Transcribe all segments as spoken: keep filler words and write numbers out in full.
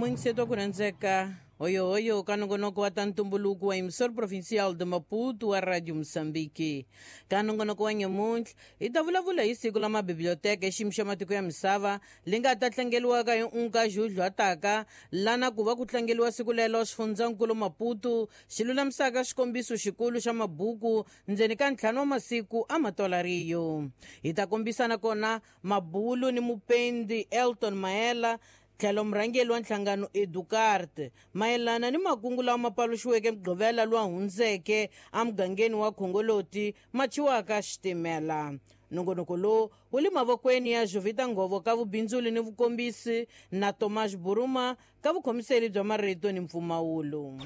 Mwingiseto ku rhandzeka hoyohoyo ka nongonoko wa ta ntumbuluko wa Emissor Provincial de Maputo wa Radio Moçambique. Ka nongonoko wa nyamuntlha hi ta vulavula hi siku la mabiblioteka xiyimo xa matiko ya misava li nga ta tlangeliwaka hi unka Julho lana ku va ku tlangeliwa siku lelo xifundzankulu Maputo xi lulamisaka xikombiso xikulu xa mabuku ndzeni ka ntlhanu wa masiku a matolariyo. Hi ta kombisana kona mabulu ni mupendi Elton Maela tlhelo murhangeri wa nhlangano Educarte mayelana ni makungu lawa ma paluxiweke Mugqivela lowa hundzeke emugangeni wa Khongoloti ma thyiwaka xitimela. Nongonoko lowu wu le mavokweni ya Jovita Ngovo ka vubindzuli ni vukombisi na Tomas Buruma ka vukhomiseli bya marito ni mpfumawulo.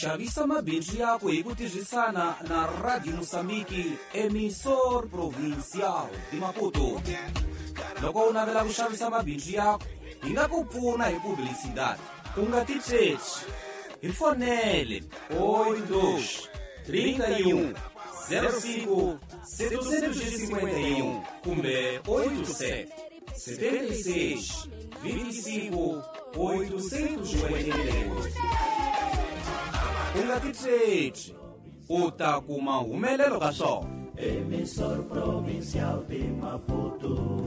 Xavisa mabindzu yako hi ku tirhisana na Radio Moçambique, Emissor Provincial de Maputo. Loko u navela ku xavisa mabindzu yako, hi nga ku pfuna hi publicidade. U nga titsheci. Hi fonele oito dois, trinta e um, zero cinco, setecentos e cinquenta e um kumbe oito sete, setenta e seis, vinte e cinco, oitocentos e oitenta e oito. U nga titsheci, u ta kuma humelelo ka swona. Emissor Provincial de Maputo.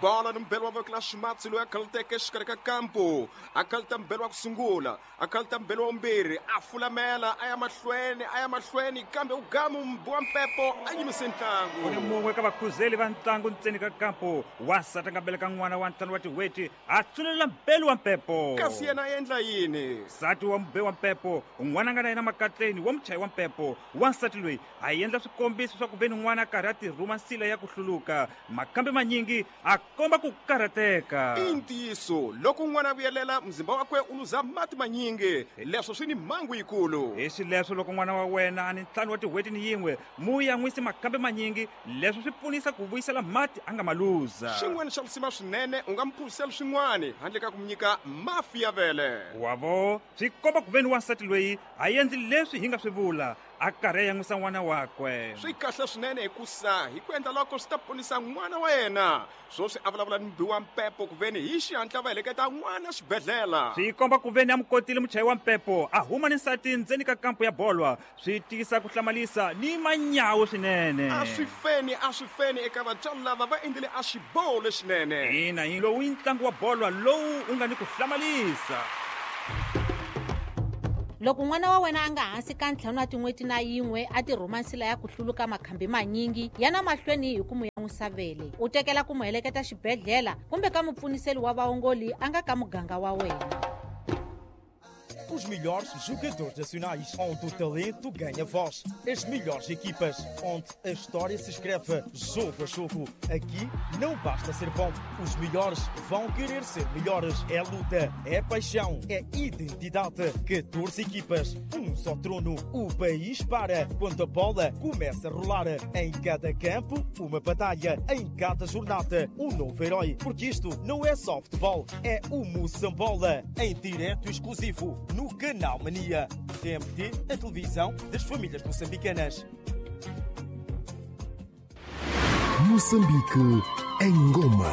Bola ni mbelo wa voko la ximatsi loyi a khaluteke exikarhi ka kampo a khaluta mbelo wa ku sungula a khaluta mbelo wa vumbirhi a fulamela a ya mahlweni a ya mahlweni kambe u gamu mbu wa mpepo a yimise ntlangu. Ku ni mun'we ka vakhuzeli va ntlangu ntseni ka kampo wansati a nga beleka n'wana wa ntlhanu wa tin'hweti a tsulela mbelo wa mpepo. Kasi yena a endla yini? Nsati wa mube wa mpepo n'wana nga na yena makatleni wa muchayi wa mpepo wansati loyi a endla swikombiso swa ku ve ni n'wana a karhi a tirhuma nsila ya ku hluluka makambe manyingi a komba ku karhateka. I ntiyiso loko n'wana a vuyelela mzimba wakwe u luza mati manyingi leswo swi ni mhangu yikulu. Hi xileswo loko n'wana wa wena a ni ntlhanu wa tin'hweti ni yin'we mu yan'wisi makambe manyingi leswo swi pfunisa ku vuyisela mati a nga ma luza. Xin'wana xa lisima swinene u nga mi phuzisela swin'wana handle ka ku mi nyika mafi ya vele. Wavo swi komba ku ve ni wansati loyi a endli leswi hi nga swi vula a karhi a yan'wisa n'wana wakwe. Swi kahle swinene hikusa hi ku endla loko swi ta ponisa n'wana wa yena. Swoswi a vulavula ni mbi wa mpepo ku veni hi xihatla va heleketa n'wana xibedhlele. Swi komba ku veni a mu kotile muchayi wa mpepo a huma ni nsati ndzeni ka kampo ya bolwa swi tiyisa ku hlamalisa ni manyawo swinene. A swi feni a swi feni eka vatswari lava va endlile a xiboho lexinene. Ina hi lowu i ntlangu wa bolwa lowu u nga ni ku hlamalisa. Loko n'wana wa wena a nga hansi ka ntlhanu wa tin'hweti na yin'we a tirhuma nsila ya ku hluluka makhambi manyingi ya na mahlweni hi ku mu yan'wisa vele u tekela ku mu heleketa xibedhlele kumbe ka mupfuniseli wa vaongoli a nga ka muganga wa wena. Os melhores jogadores nacionais, onde o talento ganha voz. As melhores equipas, onde a história se escreve jogo a jogo. Aqui não basta ser bom, os melhores vão querer ser melhores. É luta, é paixão, é identidade. catorze equipas, um só trono. O país para quando a bola começa a rolar. Em cada campo, uma batalha. Em cada jornada, um novo herói. Porque isto não é só futebol, é o Moçambola. Em direto exclusivo no Canal Mania. T M T, a televisão das famílias moçambicanas. Moçambique em Goma.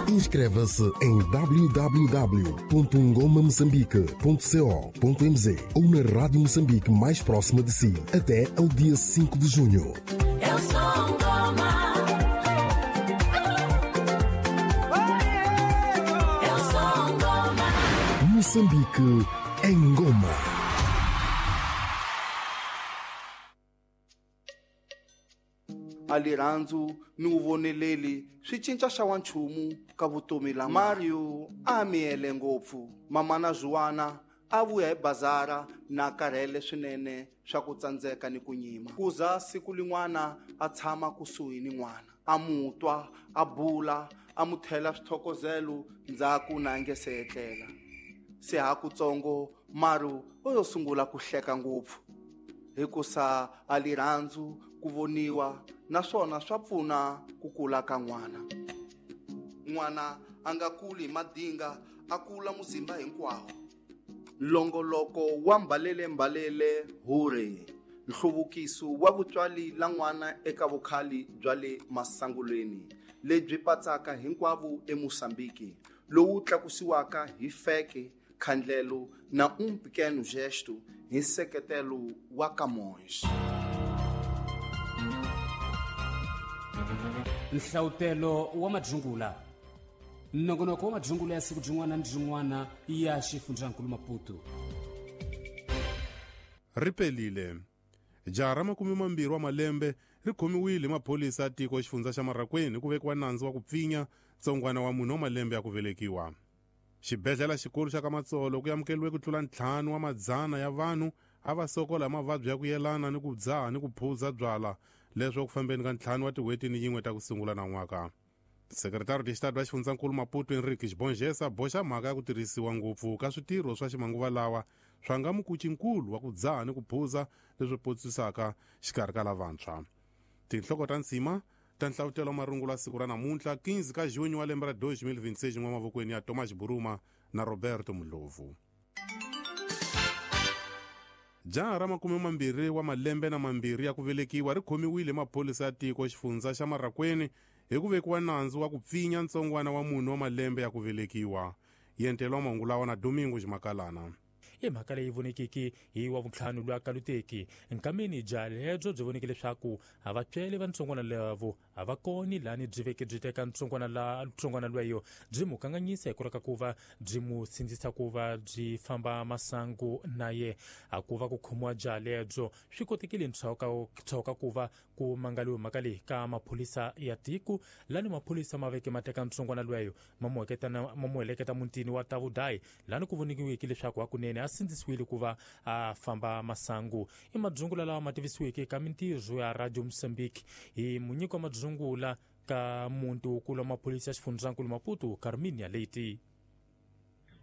Inscreva-se em w w w ponto ngoma moçambique ponto co ponto m z ou na Rádio Moçambique mais próxima de si até ao dia cinco de junho. Eu sou Ngoma. Eu sou Ngoma. Moçambique em Goma. A rirhandzu ni wu voneleli swi cinca xa wa nchumu ka vutomi la Mario a miyele ngopfu. Mama na Juana a vuya hi bazara na karhele swinene swa ku tsandzeka ni ku nyima. Kuza siku lin'wana a tshama kusuhi ni n'wana a mutwa a bula a mu thela swithokozelo ndzhaku na nge se etlela. Se ha kutsongo Mario o yo sungula ku hleka ngopfu. Hikusa a lirhandzu ku voniwa naswona swa pfuna ku kula ka n'wana. N'wana a nga kuli hi madinga, a kula muzimba hinkwawo. Longoloko wa mbalele mbalele hure nhluvukiso wa vutswali la n'wana eka vukhali bya le masangulweni lebyi patsaka hinkwavo eMosambiki, lowu tlakusiwaka hi feke, khandlelo na um pequeno gesto hi nseketelo wa Camões. Nhlawutelo wa madzungula. Nongonoko wa madzungula ya siku byin'wana ni byin'wana ya xifundzankulu Maputo. Ri pelile. Jaha ra makume mambirhi wa malembe ri khomiwile hi maphorisa ya tiko xifundza xa Marraqueni ku vekiwa nandzu wa ku pfinya ntsongwana wa munhu wa malembe ya ku velekiwa. Xibedhlele xikulu xa ka Matsolo ku amukeriwe ku tlula ntlhanu wa madzana ya vanhu a va sokola hi mavabyi ya ku yelana ni ku dzaha ni ku phuza byala, leswo ku fambeni ka ntlhanu wa tin'hweti ni yin'we ta ku sungula na n'waka. Sekretari de Estado wa xifundzankulu Maputo Henrique Xibongesa boxa mhaka ya ku tirhisiwa ngopfu ka switirho swa ximanguva lawa swa nga mukucinkulu wa ku dzaha ni ku phuza leswi potsisaka xikarhi ka lavantshwa. Tinhloko ta nsima ta nhlavutelo wa marungula ya siku ra namuntlha quinze ka junho wa lembe ra dois mil vinte e seis n'wamavokweni ya Thomas Buruma na Roberto Mulovu. Jaha ra makume mambirhi wa malembe na mambirhi ya ku velekiwa ri khomiwile hi maphorisa ya tiko xifundza xa Marraqueni hi ku vekiwa nandzu wa ku pfinya ntsongwana wa munhu wa malembe ya ku velekiwa. Yentelo wa mahungu lawa na Domingo Ximakalana. I mhaka leyi vonekiki hi wa vuntlhanu lwa kaluteki nkameni bya lebyo byi voneke leswaku a va tswele va ntsongwana lavo a va koni lani byi veke byi teka ntsongwana la ntsongwana lweyo byi mu kanganyisa hi ku raka ku va byi mu sindzisa ku va byi famba masangu na ye. A ku va ku khomiwa bya lebyo swi kotekile ntshoka ku va ku mangaliwe mhaka leyi ka maphorisa ya tiko lani maphorisa ma veke ma teka ntsongwana lweyo ma mu ma mu heleketa mutini wa Tavudayi lani ku vonikiweke leswaku hakunene a sindzisiwile ku va a famba masangu. I madzungula lawa ma tivisiweke ka mintirho ya Radio Mozambique hi munyiko wa madzungula ka muti wukulu wa maphorisa ya xifundzankulu Maputo Carminia Leite.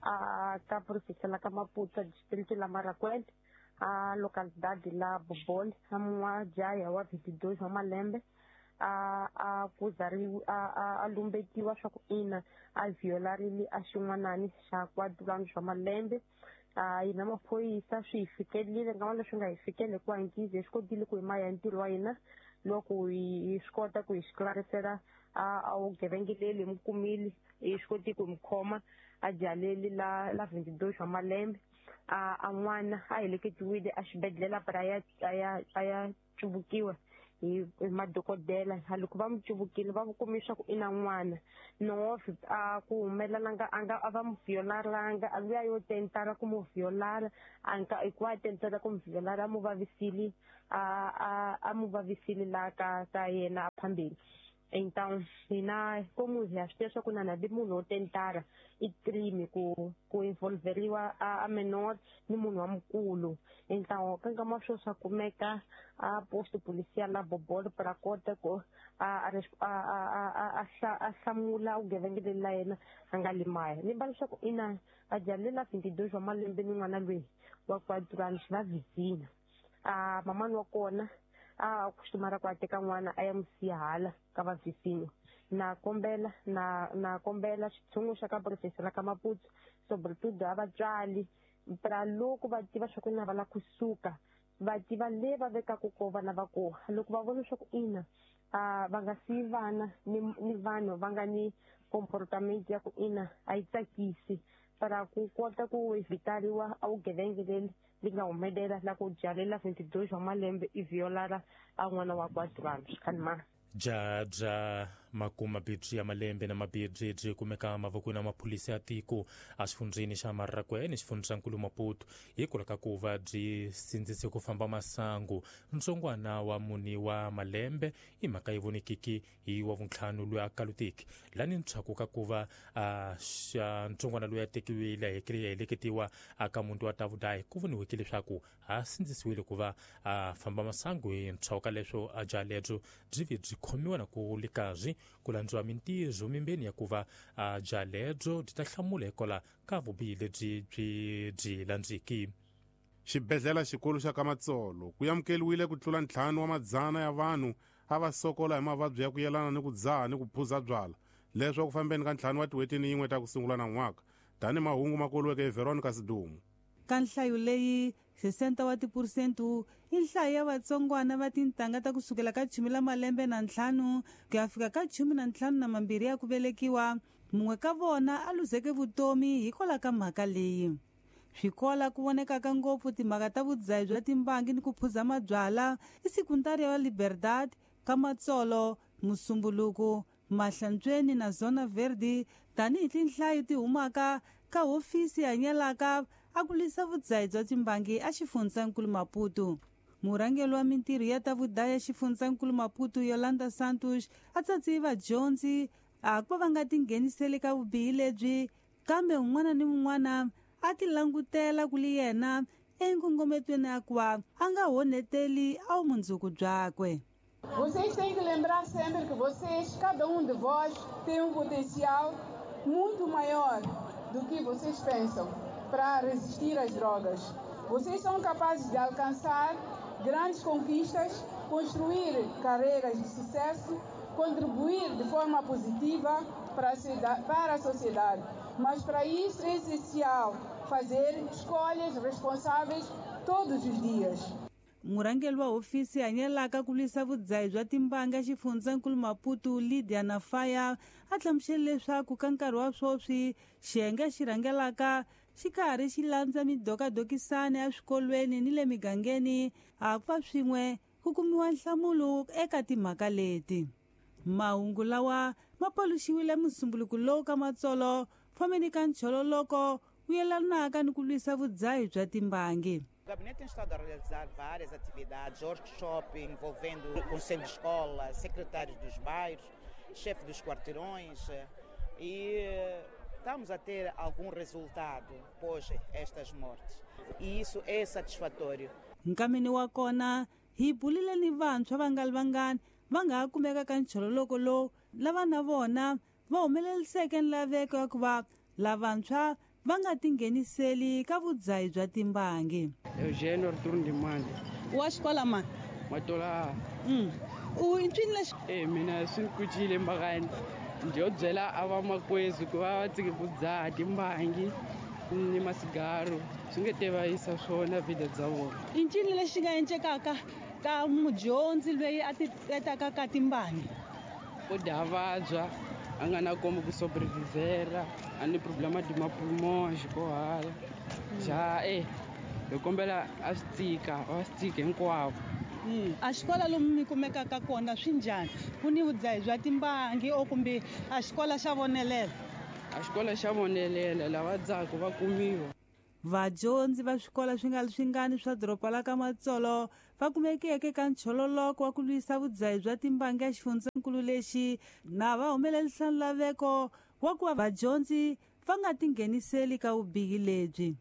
A ka província la ka Maputo, distrito la Marraquém, a localidade la Bobol, a mwa wa vinte e dois wa malembe a a kuzariwa a a lumbetiwa swa ku ina a violarile a xin'wanani xa quatro anos wa malembe. A hina maphorisa swi hi fikelile nkama leswi nga hi fikeli hikuva hinkizi hi swi kotile ku hi maya ntirho wa hina loko hi swi kota ku hi xiklarisela a a vugevengeleli hi mi kumile hi swi koti ku hi mi khoma a jaleli la la vinte e dois wa malembe. A a n'wana a heleketiwile a xibedhlele para a ya a ya a ya cuvukiwa hi madokodela. Loko va mu cuvukile va kume swa ku i na n'wana nove a ku humelela a nga a va mu violaranga a luya yo tentara ku mu violara a nga hikuva a tentara ku mu violara a mu vavisile a a a mu vavisile la ka ka yena a phambili. Então hina como hi swi tiva swa ku na na munhu wo tentara i crime ku ku involveriwa a, a menor ni munhu wa mukulu. Então ka nkama swo swa kumeka a posto policial la Bobol para kota ku a a a a hlamula vugevenga la yena a nga limaya. Ni va leswaku ina a jalela vinte e dois wa malembe ni n'wana loyi wa quatro anos va vizinha. A mamani wa kona a costumara ku a teka n'wana a ya mu siya hala ka va vizinho. Na kombela na na kombela xitshungu xa ka província la ka Maputo sobretudo a vatswari pra loko va tiva swa ku na va la kusuka va tiva le va vekaka ko vana va kona. Loko va vona swa ku ina a va nga siyi vana ni ni vanhu va nga ni comportamento ya ku ina a yi tsakisi para ku kota ku evitariwa a vugevenga leri li nga humelela la ku jalela vinte e dois wa malembe i violara a n'wana wa quatro anos kanma. Bya bya makuma bibyi ya malembe na mabibyi byi kumeka mavokweni ya maphorisa ya tiko a xifundzeni xa Marraquene xifundzankulu Maputo hikwalaho ka ku va byi sindzise ku famba masangu ntsongwana wa muni wa malembe. I mhaka yi vonekiki hi wa vuntlhanu loyi a kaluteki lani ntshaku ka ku va a xa ntsongwana loyi a tekiwile a heleketiwa aka muti wa Tavudayi ku voniweke leswaku a sindzisiwile ku va a famba masangu hi ntshaku ka leswo a bya lebyo byi vi byi khomiwa na ku likazi ku landziwa mintirho mimbeni ya ku va a bya lebyo byi ta hlamula hikwalaho ka vubihi lebyi byi byi landziki. Xibedhlele xikulu xa Kamatsolo ku amukeriwile ku tlula ntlhanu wa madzana ya vanhu a va sokola hi mavabyi ya ku yelana ni ku dzaha ni ku phuza byala leswi ku fambeni ka ntlhanu wa tin'hweti ni yin'we ta ku sungula na n'waka tani mahungu ma koliweke hi Veronica Sidumo. Ka nhlayo leyi sesenta wa tiphurusente i nhlayo ya vatsongwana va tintangha ta kusukela ka chumi la malembe na ntlhanu ku ya fika ka chumi na ntlhanu na mambirhi ya ku velekiwa, mun'we ka vona a luzeke vutomi hikwalaho ka mhaka leyi. Swikola ku vonekaka ngopfu timhaka ta vudzahi bya timbangi ni ku phuza mabyala i sekundari ya Liberdade, Kamatsolo, Musumbuluku, Mahlantsweni na Zona Verde tanihi tinhlayo ti humaka ka hofisi hanyelaka a ku lwisa vudzahi bya timbangi a xifundzankulu Maputo. Murhangeri wa mintirho ya ta vudaya xifundzankulu Maputo Yolanda Santos a tsatsi vadyondzi a ku va va nga tingheniseli ka vubihi lebyi, kambe un'wana ni un'wana a ti langutela ku li yena enkongometweni ya ku va a nga honeteli a vumundzuku byakwe. Vocês têm que lembrar sempre que vocês, cada um de vós, tem um potencial muito maior do que vocês pensam para resistir às drogas. Vocês são capazes de alcançar grandes conquistas, construir carreiras de sucesso, contribuir de forma positiva para a, para a sociedade. Mas para isso é essencial fazer escolhas responsáveis todos os dias. Murhangeri wa hofisi hanyelaka ku lwisa vudzahi bya timbanga xifundzankulu Maputo Lydia Nafaya a hlamusele leswaku ka nkarhi wa sweswi xiyenge xi rhangelaka xi karhi xi landza midokadokisana ya swikolweni ni le migangeni a ku va swin'we ku kumiwa nhlamulo eka timhaka leti. Mahungu lawa ma paluxiwile musumbuluku lowu ka Matsolo fambeni ka nchololoko wu yelanaka ni ku lwisa vudzahi bya timbangi. O gabinete tem estado a realizar várias atividades, workshops envolvendo o conselho de escola, secretários dos bairros, chefe dos quarteirões, e estamos a ter algum resultado após estas mortes. E isso é satisfatório. Nkameni wa kona hi bulile ni vantshwa va nga ri vangani va nga ha kumeka ka nchololoko lowu lava na vona va humeleriseke nlaveko ya ku va lavantshwa va nga tingheniseli ka vudzahi bya timbangi. Eugênio Arthur Ndimande. Wa xikola mani? Matola. Mm. U ncini lexi? Eh mina swi ni kucile mbakani. Ndzi yo byela a vamakwezu ku va va tshike ku dzaha timbangi ni masigaro swi nge te va yisa swona vida bya vona. I ncini lexi nga encekaka ka mudyondzi loyi a ti etaka ka timbangi? U dya vabya a nga na kombo ku sobrevivera a ni problema de mapulmons ko hala ja eh hi kombela a swi tika va swi tika hinkwavo. A xikola lomu mi kumekaka kona swi njhani? Ku ni vudzahi bya timbangi o kumbe a xikola xa vonelela? A xikola xa vonelela lava dzaka va kumiwa. Vadyondzi va swikolo swi nga ri swingani swa doroba la ka Matsolo va kumekeke ka nchololoko wa ku lwisa vudzahi bya timbangi ya xifundzankulu lexi na va humelerisa nlaveko wa ku va vadyondzi va nga tingheniseli ka vubihi lebyi.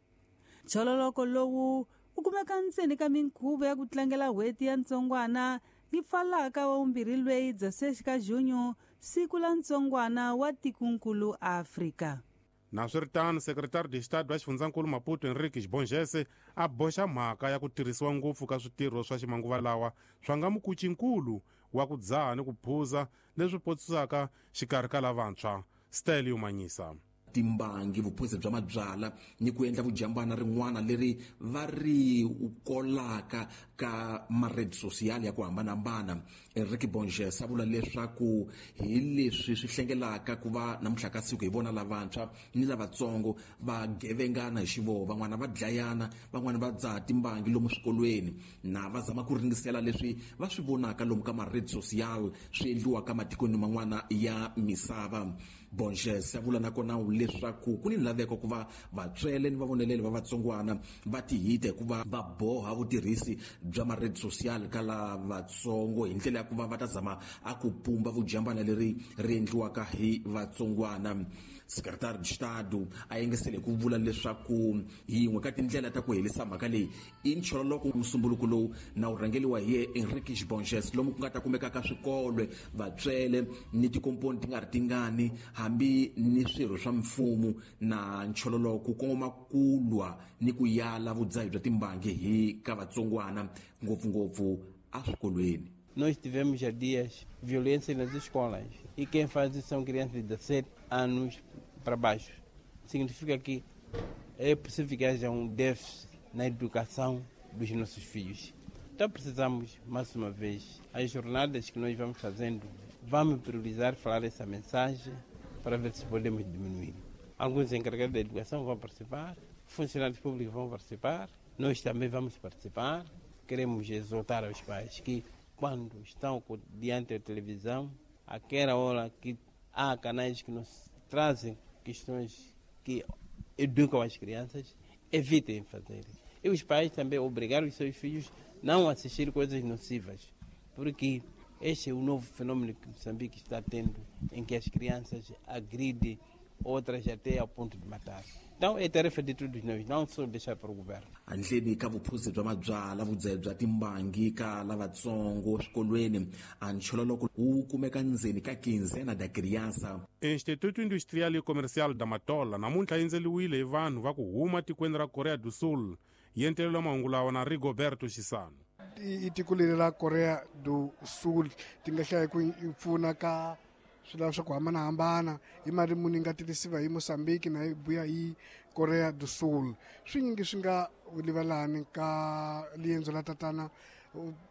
Nchololoko lowu wu kumeka ntseni ka minkhuvo ya ku tlangela n'hweti ya ntsongwana yi pfalaka wa vumbirhi lweyi Dzasexi ka Junyo, siku la ntsongwana wa tikonkulu Afrika. Naswiritano, sekretari de Estado wa xifundzankulu Maputo Henrique Xibongese a boxa mhaka ya ku tirhisiwa ngopfu ka switirho swa ximanguva lawa swa nga mukucinkulu wa ku dzaha ni ku phuza leswi potsisaka xikarhi ka lavantshwa. Stelio Manyisa. Timbangi, vuphuzi bya mabyala ni ku endla vujambana rin'wana leri va ri kolaka ka maredi social ya ku hambanahambana. Enrique Bonges a vula leswaku hi leswi swi hlengelaka ku va namuntlha ka siku hi vona lavantshwa ni lavatsongo va gevengana hi xivoho, van'wana va dlayana, van'wana va dzaha timbangi lomu swikolweni na va zama ku ringisela leswi va swi vonaka lomu ka maredi social swi endliwaka matikweni man'wana ya misava. Bonges a vula nakona leswaku ku ni laveko ku va vatswele ni vavoneleli va vatsongwana va tihita hikuva va boha vutirhisi bya maredi social ka lavatsongo hi ndlela ya ku va va ta zama a ku pumba vujambana leri ri endliwaka hi vatsongwana. Secretary de Estado a yengesele ku vula leswaku yin'we ka tindlela ta ku herisa mhaka leyi i nchololoko musumbuluko lowu na wu rhangeliwa hi Enrique Bonges lomu ku nga ta kumekaka swikolo, vatswele ni tikomponi ti nga ri tingani hambi ni swirho swa mfumo na nchololo ku kongoma ku lwa ni ku yala vudzahi bya timbangi hi ka vatsongwana ngopfungopfu eswikolweni. Nós tivemos há dias violência nas escolas e quem faz isso são crianças de dezessete anos para baixo. Significa que é possível que haja um déficit na educação dos nossos filhos. Então precisamos, mais uma vez, as jornadas que nós vamos fazendo, vamos priorizar falar essa mensagem para ver se podemos diminuir. Alguns encarregados da educação vão participar, funcionários públicos vão participar, nós também vamos participar. Queremos exortar aos pais que, quando estão diante da televisão, aquela hora que há canais que nos trazem questões que educam as crianças, evitem fazer. E os pais também obrigaram os seus filhos não a assistir coisas nocivas, porque este é o novo fenômeno que Moçambique está tendo, em que as crianças agridem outras até ao ponto de matar. Então é tarefa de todos nós, não só deixar para o governo. Handleni ka vuphuzi bya mabyala vudzahi bya timbangi ka lavatsongo swikolweni a nchololoko wu kumeka ndzeni ka quinzena da criança. Instituto Industrial e Comercial da Matola namuntlha yi endzeliwile hi vanhu va ku huma tikweni ra Korea do Sul. Yi entelelwa mahungu lawa na Rigoberto Xisano. I tiko leri ra Korea do Sul ti nga hlaya ku pfuna ka swilo swa ku hambanahambana hi mali muni yi nga tirhisiwa hi Mozambique na yi buya hi Korea do Sul. Swinyingi swi nga livalani ka liendzo la tatana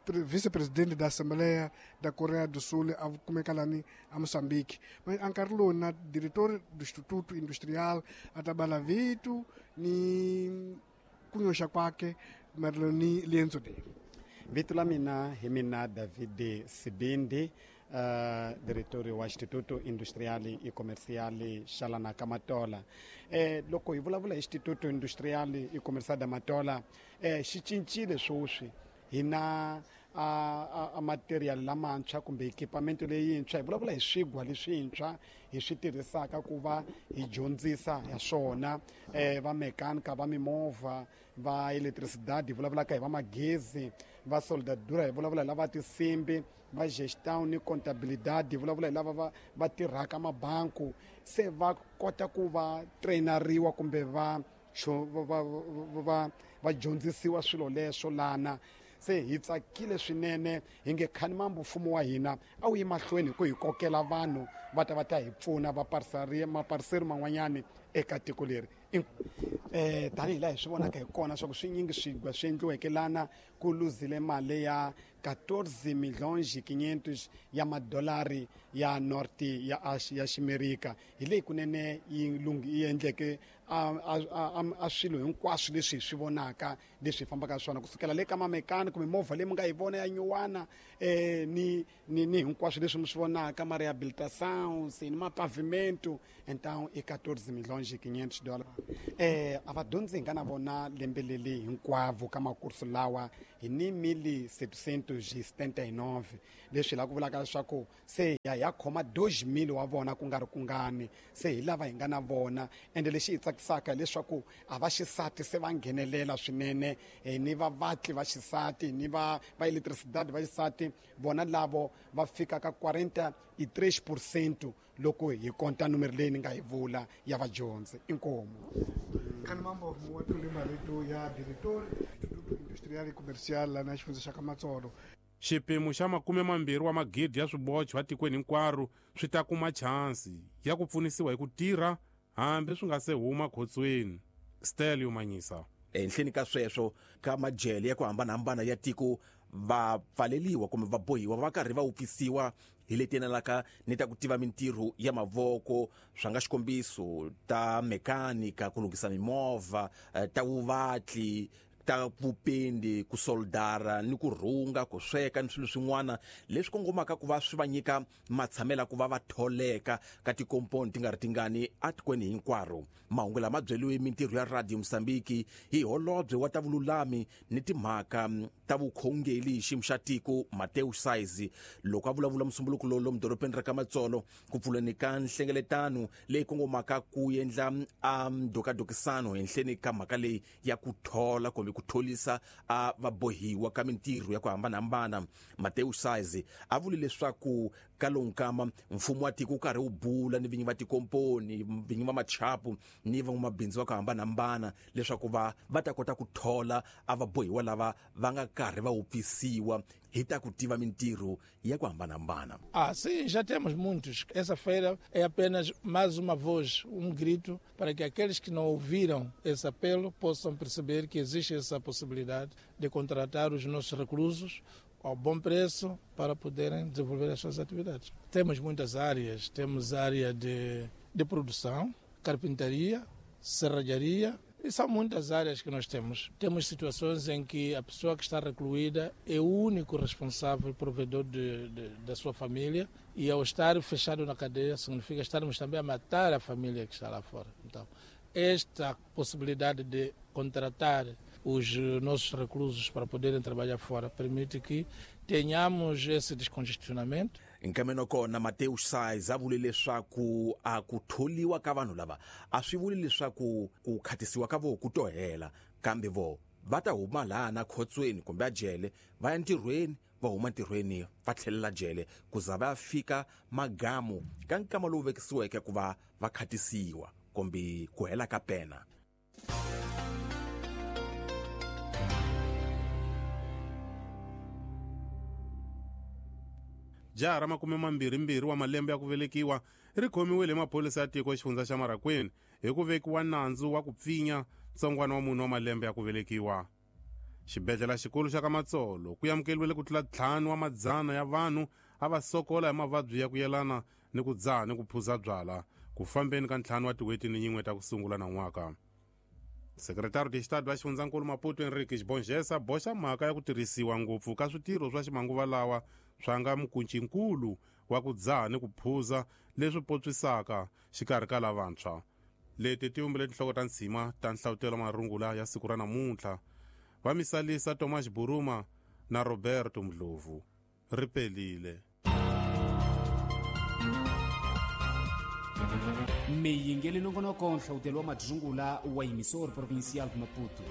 vice-presidente da Assembleia da Coreia do Sul a kumeka lani a Moçambique. Mas a nkarhi lowu na diretor do Instituto Industrial a ta bala vitu ni ku nyoxa kwake maelana ni liendzo leri. Vito la mina hi mina David Sibindi, Uh, diretor wa Instituto Industrial e Comercial Xalana ka Matola. Eh, loko hi vulavula hi Instituto Industrial e Comercial da Matola, eh, xi cincile sweswi hi na a, a material lamantshwa kumbe equipamento leyintshwa. Hi vulavula hi swigwa leswintshwa hi swi tirhisaka ku va hi dyondzisa ya swona, eh, va mekanika va mimovha, va electricidade hi vulavulaka hi va magezi, va soldadura hi vulavula hi lava tinsimbi, va gestão ni contabilidade hi vulavula hi lava va va tirhaka mabanku. Se va kota ku va traineriwa kumbe va va va va dyondzisiwa swilo leswo lana. Se hi tsakile swinene hi nge khani mambo mfumo wa hina a wu yi mahlweni ku hi kokela vanhu va ta va ta hi pfuna va parceria maparceri man'wanyani eka tiko leri. Eh, tanihi laha hi swi vonaka hi kona swa ku swinyingi swigwa swi endliweke lana ku luzile mali ya quatorze milhões e quinhentos ya madolari ya norte ya ya Ximerika. Hi leyi kunene yi yi endleke a a a swilo hinkwaswo leswi hi swi vonaka leswi hi fambaka swona kusukela le ka mamekani kumbe movha leyi mi nga yi vona ya nyuwana, eh, ni ni ni hinkwaswo leswi mi swi vonaka ma rehabilitação ni mapavimento. Então i quatorze milhões e quinhentos dólares. Eh, a vadyondzi hi nga na vona lembe leri hinkwavo ka makursu lawa hi ni mil setecentos e setenta e nove, leswi la ku vulaka leswaku se ya ya khoma dois mil wa vona ku nga ri kungani. Se hi lava hi nga na vona, ende lexi hi tsakisaka hileswaku a va xisati se va nghenelela swinene, ni va vatli va xisati ni va va electricidade va xisati, vona lavo va fika ka quarenta e três por cento loko hi konta numero leyi ni nga yi vula ya vadyondzi. Inkomu. Khani mambo wa tlule marito ya diretor Instituto Industrial e Comercial lana xifundza xa ka Matsolo. Xipimo xa makume mambirhi wa magidi ya swibocho etikweni hinkwaro swi ta kuma chansi ya ku pfunisiwa hi ku tirha hambi swi nga se huma khotsweni. Stelio Manyisa. Ehenhleni ka sweswo ka majele ya ku hambanahambana ya tiko va pfaleliwa kumbe va bohiwa va karhi va wupfisiwa hi leti yenelaka ni ta ku tiva mintirho ya mavoko, swa nga xikombiso ta mekanika, ku lunghisa mimovha, ta vuvatli, ta vupendi, ku soldara ni ku rhunga, ku sweka ni swilo swin'wana leswi kongomaka ku va swi va nyika matshamela ku va va tholeka ka tikomponi ti nga ri tingani etikweni hinkwaro. Mahungu lama byeliwe mintirho ya Radio Mozambique hi holobye wa ta vululami ni timhaka ta vukhongeli hi xiyimo xa tiko Mateo Saizi loko a vulavula musumbuluko lowu lomu dorobeni ra ka Matsolo ku pfuleni ka nhlengeletano leyi kongomaka ku endla a ndokadokisano henhleni ka mhaka leyi ya ku thola kumbe ku tholisa a vabohiwa ka mintirho ya ku hambanahambana. Mateus Sais a vule leswaku ka lowu nkama mfumo wa tiko wu karhi wu bula ni vinyi va tikomponi, vinyi va machapu ni van'wamabindzu va ku hambanahambana leswaku va va ta kota ku thola a vabohiwa lava va nga karhi va wupfisiwa hi ta ku tiva mintirho ya ku hambanahambana. Ah, sim, já temos muitos. Essa feira é apenas mais uma voz, um grito para que aqueles que não ouviram esse apelo possam perceber que existe essa possibilidade de contratar os nossos reclusos ao bom preço para poderem desenvolver as suas atividades. Temos muitas áreas, temos área de, de produção, carpintaria, serralharia, e são muitas áreas que nós temos. Temos situações em que a pessoa que está recluída é o único responsável, provedor de, de, da sua família, e ao estar fechado na cadeia significa estarmos também a matar a família que está lá fora. Então, esta possibilidade de contratar os nossos reclusos para poderem trabalhar fora permite que tenhamos esse descongestionamento. Nkameno kona Mateus Sais a vule leswaku a ku tholiwa ka vanhu lava a swi vuli leswaku ku khatisiwa ka vo ku to hela, kambe vo va ta huma laha na khotsweni kumbe a jele va ya ntirhweni, va huma ntirhweni va tlhelela jele ku za va fika magamu ka nkama lowu vekisiweke ku va va khatisiwa kumbe ku hela ka pena. Jaha ra makume mambirhimbirhi wa malembe ya ku velekiwa ri khomiwile hi maphorisa ya tiko xifundza xa Marraquene hi ku vekiwa nandzu wa ku pfinya ntsongwana wa munhu wa malembe ya ku velekiwa. Xibedhlele xikulu xa ka Matsolo ku amukeriwile ku tlula ntlhanu wa madzana ya vanhu a va sokola hi mavabyi ya ku yelana ni ku dzaha ni ku phuza byala ku fambeni ka ntlhanu wa tin'hweti ni yin'we ta ku sungula nan'waka. Sekretari de Estado wa xifundzankulu Maputo Henrique Xibongesa boxa mhaka ya ku tirhisiwa ngopfu ka switirho swa ximanguva lawa swa nga mukuncinkulu wa ku dzaha ni ku phuza leswi potswisaka xikarhi ka lavantshwa. Leti ti vumbile tinhloko ta ntshima ta nhlavutelo marungula ya siku ra namuntlha. Va misalisa Thomas Buruma na Roberto Mdlovu. Ri pelile. Miyingeli nongonoko nhlavutelo wa madzungula wa Emissor Provincial de Maputo.